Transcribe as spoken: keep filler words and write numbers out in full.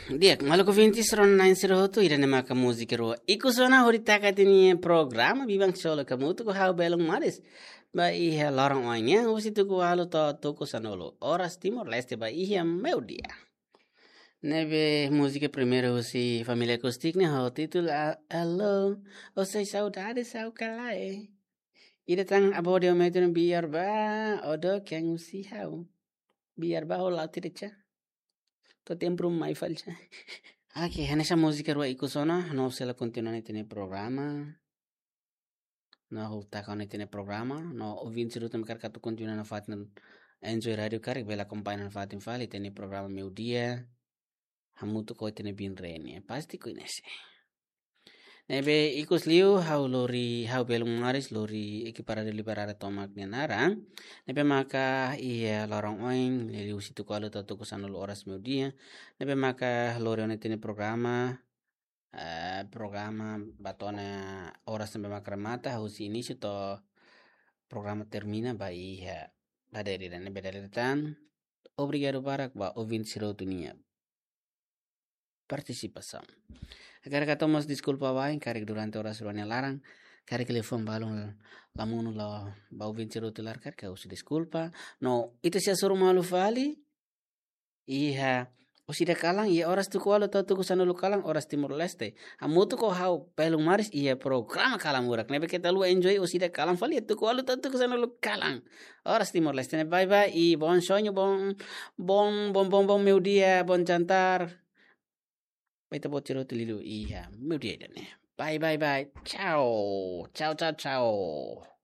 Di'ak, maluk ouvinte, rona-na'in sira hotu, ida-ne'e maka múzika rua ikus ona hodi taka ita-nia programa Biban Solo, hamutuk ho ha'u Belun Maris. Ba iha loron oin nian, husi tuku ualu to'o tuku sanulu oras Timor-Leste, ba iha meiudia. Ne'ebé múzika primeiru husi Família Acústica ne'e ho títulu A-, Alô, ou sei saudade, sau kalae. Ida tan Abódio Metro Biar Ba, Odo Keng Usi Hau. Biar Ba ho Lau Tirecha. To'o tempu mai falcha. Oke, hanesan múzika rua ikus ona, no sei la kontinua ita-nia programa. No ha'u taka ona ita-nia programa, no ouvinte sira hotu mak hakarak atu kontinua nafatin enjoy rádiu karik, bele akompaña nafatin fali ita-nia programa meiudia. Hamutuk ho ita-nia biin Reni, pasti koñese. Ne'ebé ikus liu ha'u lori, ha'u Belun Maris lori ekipa Rádiu Liberada tomak nia naran. Ne'ebé maka iha loron oin, liuhusi tuku ualu to'o tuku sanulu oras meiudia. Ne'ebé maka lori ona ita-nia programa, eh, programa ba to'o ona oras ne'ebé maka remata, husi inísiu to'o programa termina ba iha dadeer ida-ne'e. Ne'ebé dadeer tan, obrigadu barak ba ouvinte sira hotu nia partisipasaun. Hakarak hato'o mós deskulpa wa'in, karik durante oras rua nia laran, karik liafuan balun la monu, la ba ouvinte sira hotu laran, karik ha'u husu deskulpa. No ita sei hasoru malu fali iha oras ida kalan, iha oras tuku ualu to'o tuku sanulu kalan, oras Timor-Leste. Hamutuk ho ha'u Belun Maris iha programa Kalan Murak. Ne'ebé keta haluha enjoy oras ida kalan fali, iha tuku ualu to'o tuku sanulu kalan, oras Timor-Leste. Ne'e bye bye, i bom sonho, bom, bom, bom, bom, bom meiudia, bom jantar. Ba ita-boot sira hotu liuliu iha meiudia ida-ne'e. Bye, bye, bye. Tchau. Tchau, tchau, tchau.